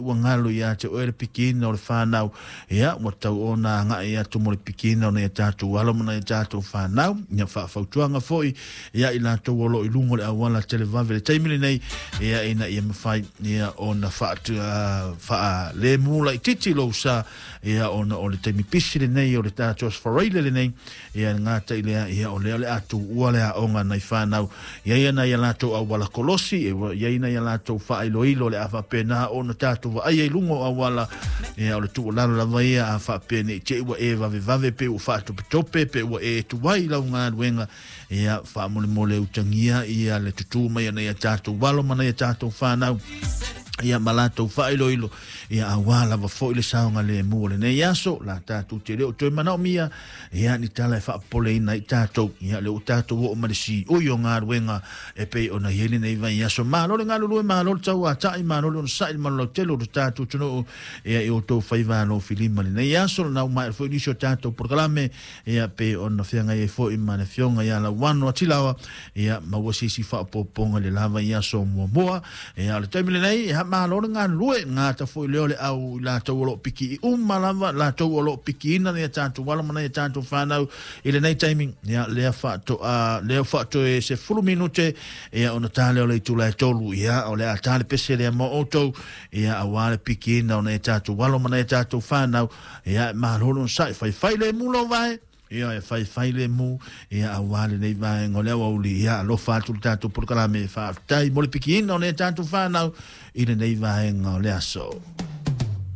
ua galo ia te oe le pikiina o le fanau, ia ua tatau ona agai atu mo le pikiina o nai a tatou alo ma nai a tatou fanau. Ia faafautuaga foi ia i latou o lo o i luga o le auala televave i le taimi lenei, ia ina ia mafai ia ona faalemu laitiiti lou sa, ia ona o le taimi pisi lenei o le tatou Aso Faraile lenei. Ia e gata i lea, ia o lea o le a tuua le aoga nai fanau, ia ia nai a latou auala kolosi, e i ai nai a latou faailoilo o le a faapena ona tatou vaaia i luga o auala. Ia o le tuualalo lava ia, a faapea nei te i ua e vavevave pe ua faatopetope pe ua e tuai i lau galuega, ia faamolemole utagia ia le tutū mai a nai a tatou alo ma nai a tatou fanau, ia ma latou faailoilo, ia auā lava foi le saogalemu o lenei aso. La tatou te le o toe manaomia ia ni tala e faapopoleina ai tatou, ia lea ua tatou oo ma le siui o galuega e pei ona i ai lenei vaiaso. Malo le galulue, malo le tauatai, malo le onosai le malolautele o le tatou atunuu, ia i outou faiva alofilima lenei aso. Lena ua maea foi nisi o tatou polokalame, ia pei ona feagai ai foi ma le afioga ia Lauano Atilaoa, ia maua se isi faaopoopoga i le la vaiaso muamua. Ia o le taimi lenei, ia malo le galulue, gata foi lea o le au i latou o lo o pikii uma lava, latou o lo o pikiina nai a tatou alo ma nai a tatou fanau i lenei taimi. Ia lea faatoa lea faatoe 10 minute ia ona ta lea o le itula e 3, ia o le a ta le pese lea mo outou, ia auā le pikiina o nai a tatou alo ma nai a tatou fanau. Ia malo le onosai, faifai le mu lou vae, ia e faifai le mu, ia auā lenei vaega o le aoauli. Ia alofa atu le tatou polokalame, faafetai mo le pikiina o nai a tatou fanau i lenei vaega o le aso.